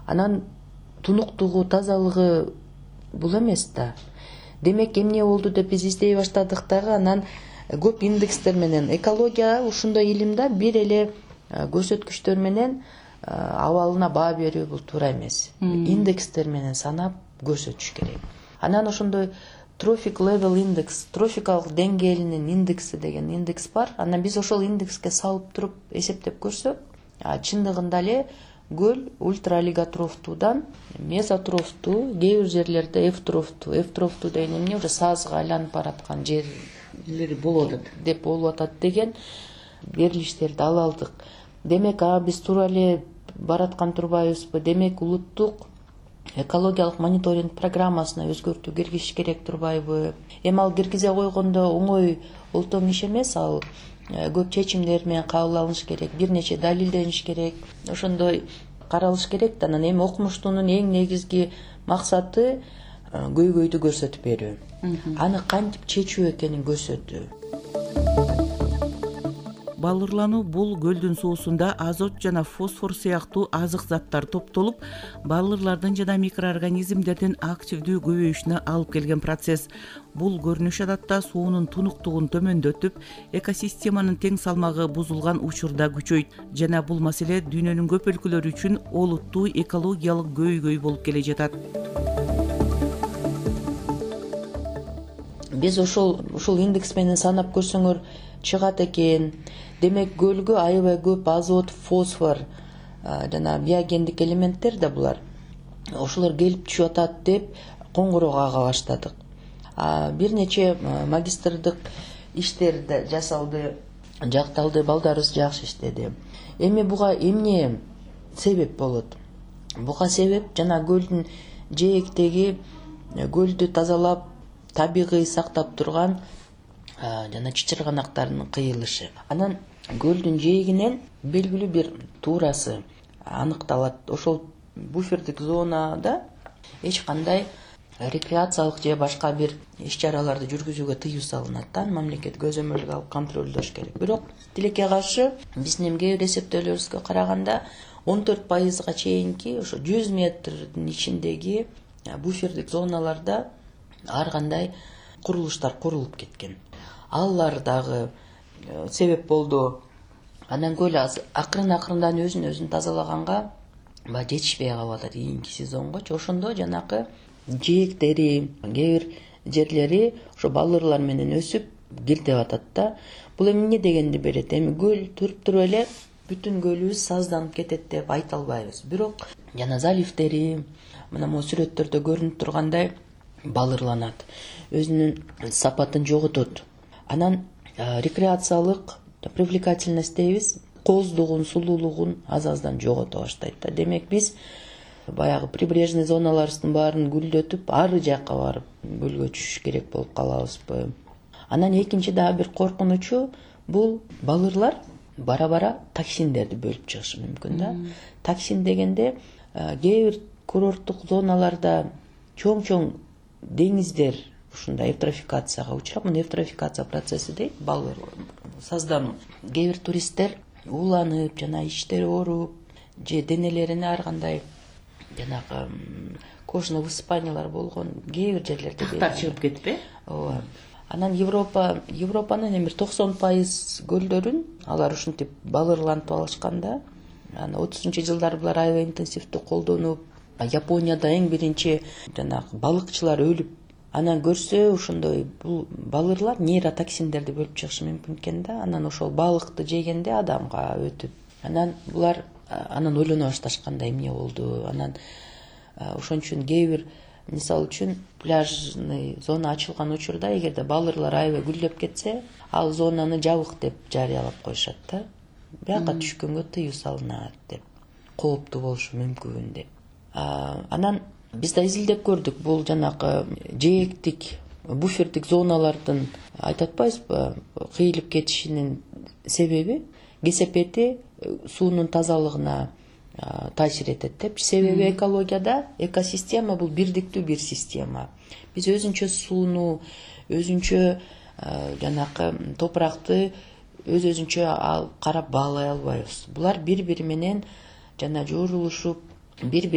Анан тунуктугу, тазалыгы бул эмес да. Демек эмне болду деп биз издей баштадык дагы. Анан көп индекстер менен экология ушундай илим да, бир эле көрсөткүчтөр менен абалына баа берүү бул туура эмес. Индекстер менен санап көрсөтүш керек. Анан ошондой трофик левел индекс, трофикалык деңгээлинин индекси деген индекс бар. Анан биз ошол индекске салып туруп эсептеп көрсөк, чындыгында эле көл ультралиготрофтуудан мезотрофтуу, кээ бир жерлерде эфтрофтуу деген эмне уже саазга айланып бараткан жерлери болуп атат деген берилиштерди ала алдык. Демек биз туура эле бараткан турбайбызбы? Демек улуттук экологиялык мониторинг программасына өзгөртүү киргизиш керек турбайбы? Эми ал киргизе койгондо оңой олтоң иш эмес, ал көп чечимдер менен кабыл алыныш керек, бир нече далилдениш керек, ошондой каралыш керек да. Анан эми окумуштуунун эң негизги максаты көйгөйдү көрсөтүп берүү, аны кантип чечүү экенин көрсөтүү. Балырлануу бул көлдүн суусунда азот жана фосфор сыяктуу азык заттар топтолуп, балырлардын жана микроорганизмдердин активдүү көбөйүшүнө алып келген процесс. Бул көрүнүш адатта суунун тунуктугун төмөндөтүп, экосистеманын тең салмагы бузулган учурда күчөйт жана бул маселе дүйнөнүн көп өлкөлөрү үчүн олуттуу экологиялык көйгөй болуп келе жатат. Биз ушул индекс менен санап көрсөңөр чыгат экен. Демек көлгө аябай көп азот, фосфор жана биогендик элементтер да булар. Ошолор келип түшүп атат деп коңгуроо кага баштадык. Бир нече магистрдык иштерди жасалды, жакталды, балдарыбыз жакшы иштеди. Эми буга эмне себеп болот? Буга себеп жана көлдүн жээктеги көлдү тазалап, табигый сактап турган жана чычырганактардын кыйылышы. Анан көлдүн жээгинен белгилүү бир туурасы аныкталат. Ошол буфердик зонада эч кандай рекреациялык же башка бир иш-чараларды жүргүзүүгө тыюу салынат да. Мамлекет көзөмөлгө алып контролдош керек. Бирок тилекке каршы биздин кээ бир эсептөөлөрүбүзгө караганда 14% чейинки ошо 100 метрдин ичиндеги буфердик зоналарда ар кандай курулуштар курулуп кеткен. Алар дагы себеп болду. Анан көл акырындан өзүн тазалаганга жетишпей калып атат кийинки сезонгочу. Ошондо жанакы жээктери, кээ бир жерлери ошо балырлар менен өсүп киртеп атат да. Бул эмне дегенди берет? Эми көл туруп туруп эле бүтүн көлүбүз сазданып кетет деп айта албайбыз. Бирок жана заливдери мына могу сүрөттөрдө көрүнүп тургандай балырланат, өзүнүн сапатын жоготот. Анан рекреациялык привлекательность дейбиз, кооздугун, сулуулугун аз-аздан жогото баштайт да. Демек биз баягы прибрежный зоналарыбыздын баарын гүлдөтүп, ары жакка барып көлгө түшүш керек болуп калабызбы? Анан экинчи дагы бир коркунучу бул балырлар бара-бара токсиндерди бөлүп чыгышы мүмкүн да. Токсин дегенде кээ бир курорттук зоналарда чоң деңиздер ушундай эвтрофикацияга учурап, муну эвтрофикация процесси дейт, балыр саздануу. Кээ бир туристтер ууланып жана иштери ооруп же денелерине ар кандай жанагы кожно высыпаниялар болгон кээ бир жерлерде чыгып кетпи? Ооба. Анан Европанын эми 90% көлдөрүн алар ушинтип балырлантып алышканда, анан 30-жылдары булар аябай интенсивдүү колдонуп, Японияда эң биринчи жанагы балыкчылар өлүп, анан көрсө ошондой бул балырлар нейротоксиндерди бөлүп чыгышы мүмкүн экен да. Анан ошол балыкты жегенде адамга өтүп, анан булар ойлоно башташканда эмне болду? Анан ошон үчүн кээ бир мисалы үчүн пляжный зона ачылган учурда эгерде балырлар аябай гүлдөп кетсе, ал зонаны жабык деп жарыялап коюшат да. Бияка түшкөнгө тыюу салынат деп, кооптуу болушу мүмкүн деп. Анан биз да изилдеп көрдүк, бул жанагы жээктик буфердик зоналардын айтып атпайбызбы, кыйылып кетишинин себеби кесепети суунун тазалыгына таасир этет депчи. Себеби экологияда экосистема бул бирдиктүү бир система. Биз өзүнчө сууну, өзүнчө жанакы топуракты өзүнчө карап баалай албайбыз. Булар бири-бири менен жана жоорулушуп, бири-бири